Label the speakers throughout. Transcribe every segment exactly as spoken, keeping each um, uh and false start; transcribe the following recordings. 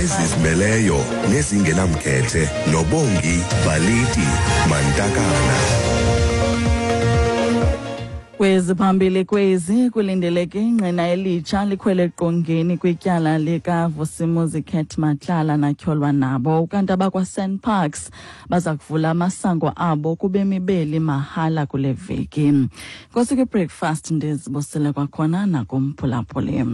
Speaker 1: Ezizimeleyo nezingenamkhethe noBongi Baliti Mantakana.
Speaker 2: Kweziphambili kwezi kulindeleke ingqina elitsha likhwele eqongeni kwityala likaVusimuzi Cat Matlala natyholwa nabo. Ukanti abakwa-SANParks baza kuvula amasango abo kubemi beli mahala kule veki. Nkosi kwi-breakfast ndizibusele kwakhona nakumphulaphuli.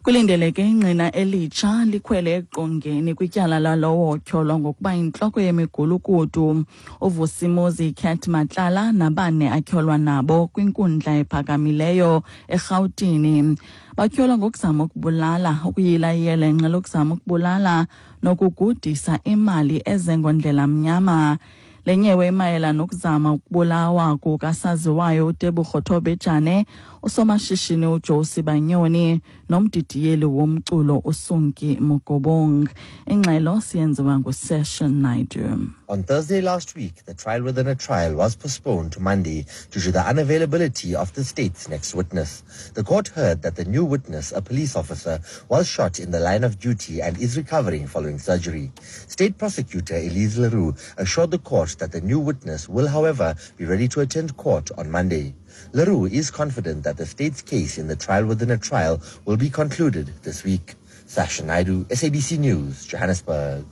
Speaker 2: Kulindeleke ingqina elitsha likhwele eqongeni kwityala lalowo otyholwa ngokuba intloko yemigulukudu uVusimuzi Cat Matlala nabane atyholwa nabo kwinkundla ephakamileyo eRhawutini. Batyholwa ngokuzama ukubulala, ukuyila iyelenqe lokuzama ukubulala nokugudisa imali ezengondlela mnyama. Le nyewe imayela nokuzama ukubulawa kukasaziwayo uTebogo Thobejane, usomashishini uJoe Sibanyoni nomdidiyeli womculo uSunki Mokobong. Ingxelo siyenziwa nguSession Naidu.
Speaker 3: On Thursday last week, the trial within a trial was postponed to Monday due to the unavailability of the state's next witness. The court heard that the new witness, a police officer, was shot in the line of duty and is recovering following surgery. State Prosecutor Elise Leroux assured the court that the new witness will, however, be ready to attend court on Monday. Leroux is confident that the state's case in the trial within a trial will be concluded this week. Sasha Naidu, S A B C News, Johannesburg.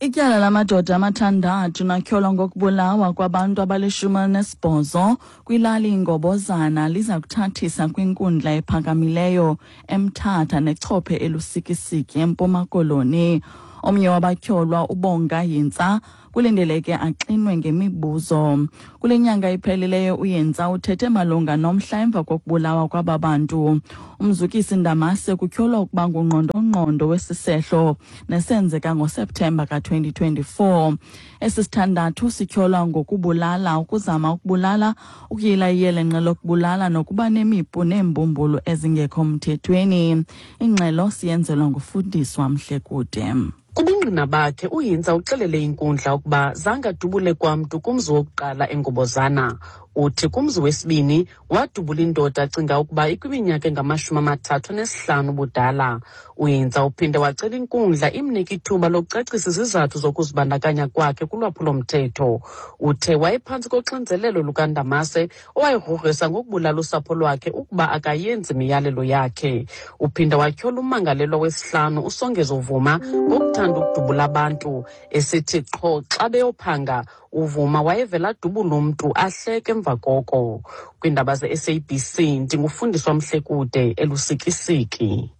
Speaker 2: Ityala lamadoda amathandathu natyholwa ngokubulawa kwabantu abalishumi elinesibhozo kwilali iNgobozana liza kuthathisa kwinkundla ephakamileyo eMthatha nechophe eLusikisiki eMpuma Koloni. Omnye wabatyholwa uBonga Yintsa kulindeleke axinwe ngemibuzo. Kule nyanga iphelileyo uYintsa uthethe malunga nomhla emva kokubulawa kwaba bantu. Umzukisi Ndamase kutyholwa ukuba ngungqondongqondo wesisehlo nesenzeka ngoSeptemba ka-twenty twenty-four. Esi sithandathu sityholwa ngokubulala, ukuzama ukubulala, ukuyila iyelenqe lokubulala nokuba nemipu neembumbulu ezingekho mthethweni. Ingxelo siyenzelwa nguFundiswa Mhlekude.
Speaker 4: Kubungqina bakhe uYintsa uxelele inkundla ukuba zange adubule kwamntu kumzi wokuqala eNgobozana. Uthi kumzi wesibini wadubula indoda acinga ukuba ikwiminyaka engamashumi amathathu anesihlanu ubudala. UYintsa uphinde wacela inkundla imnike ithuba lokucacisa izizathu zokuzibandakanya kwakhe kulwaphulomthetho. Uthe wayephantsi koxinzelelo lukaNdamase owayegrogrisa ngokubulala usapho lwakhe ukuba akayenzi imiyalelo yakhe. Uphinde watyhola ummangalelwa wesihlanu uSongezo Vuma ngokuthanda ukudubula abantu, esithi qho xa beyophanga uVuma wayevela adubula umntu ahleke emva koko. Kwiindaba ze-S A B C ndingufundiswa Mhlekude eLusikisiki.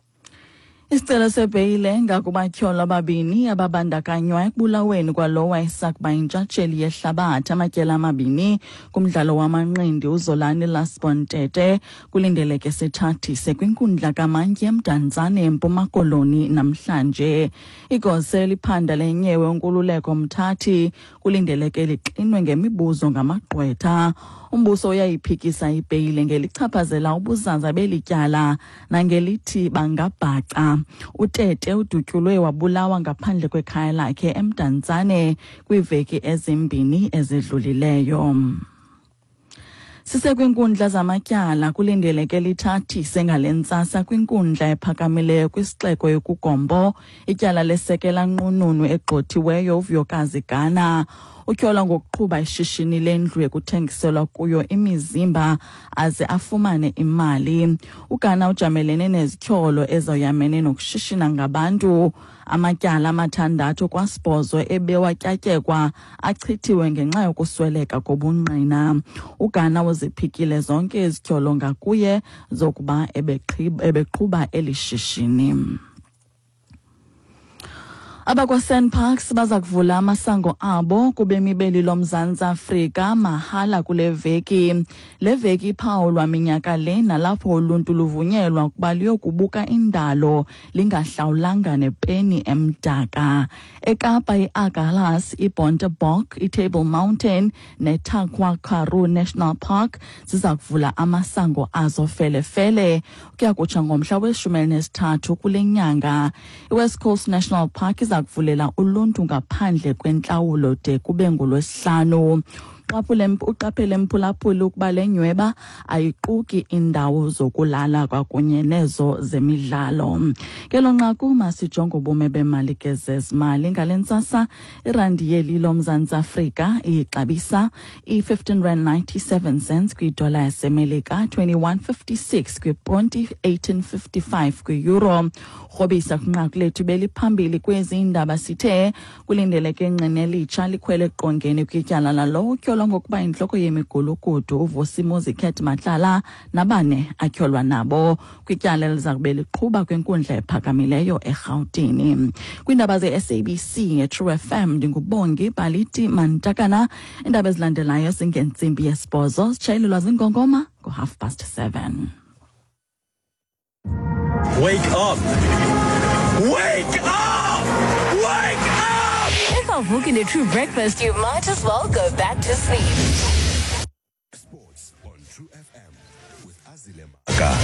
Speaker 2: Isicelo sebheyile ngakubatyholwa ababini ababandakanywa ekubulaweni kwalowo wayesakuba yintshatsheli yehlabathi amatyeli amabini kumdlalo wamanqindi uZolani Lasbon Tete kulindeleke sithathise kwinkundla kaMantyi eMdantsane eMpuma Koloni namhlanje. Igosa eliphanda lenyewe uNkululeko Mthathi kulindeleke lixinwe ngemibuzo ngamagqwetha. Umbuso uyayiphikisa ibheyile ngelichaphazela ubuzaza beli tyala nangelithi bangabhaca. UTete udutyulwe wabulawa ngaphandle kwekhaya lakhe eMdantsane kwiiveki ezimbini ezidlulileyo. Sisekwinkundla zamatyala kulindeleke lithathise ngale ntsasa kwinkundla ephakamileyo kwisixeko yokuGompo ityala lesekela nqununu egxothiweyo uVuyokazi Gana. Utyholwa ngokuqhuba ishishini lendlu ekuthengiselwa kuyo imizimba aze afumane imali. UGana ujamelene nezityholo ezoyamene nokushishina ngabantu. Amatyala amathandathu kwasibhozo ebewatyatyekwa achithiwe ngenxa yokusweleka kobungqina. UGana uziphikile zonke izityholo ngakuye zokuba ebeqhuba eli shishini. AbakwaSANParks baza kuvula amasango abo kubemi beli loMzantsi Afrika mahala kule veki. Le veki iphawulwa minyaka le nalapho uluntu luvunyelwa ukuba luyokubuka indalo lingahlawulanga nepeni emdaka. eKapa i-Agulhas, iBontebok, iTable Mountain neTankwa Karoo National Park ziza kuvula amasango azo felefele ukuya kutsha ngomhla weshumi elinesithathu kule nyanga. IWest Coast National Park iza kuvulela uluntu ngaphandle kwentlawulo de kube ngolwesihlanu. Uqaphele mphulaphuli ukuba le nyweba ayiquki indawo zokulala kwakunye nezo zemidlalo. Kelo nqaku masijonge ubume bemali ke zezimali. Ngale ntsasa irandi yeli loMzantsi Afrika ixabisa i-fifteen rand ninety-seven cents kwidola yaseMelika, twenty-one fifty-six kwiponti, eighteen fifty-five kwi-euro. Rhobisa kwinqaku lethu beliphambili kwezi indaba sithe kulindeleke ingqina elitsha likhwele eqongeni kwityala lalo utyholwa ngokuba intloko yemigulukudu uVusimuzi Cat Matlala nabane atyholwa nabo kwityala eliza kube liqhuba kwinkundla ephakamileyo eRhawutini. Kwiindaba ze-S A B C nge-True F M ndinguBongi Baliti Mantakana. Iindaba ezilandelayo zingentsimbi yesibhozo zitshayelelwa zingongoma ngo-half past seven.
Speaker 5: Wake up! Wake up! Wake up!
Speaker 6: If I'm looking at True Breakfast, you might as well go back to sleep.
Speaker 1: Sports on True F M with Azile Maka.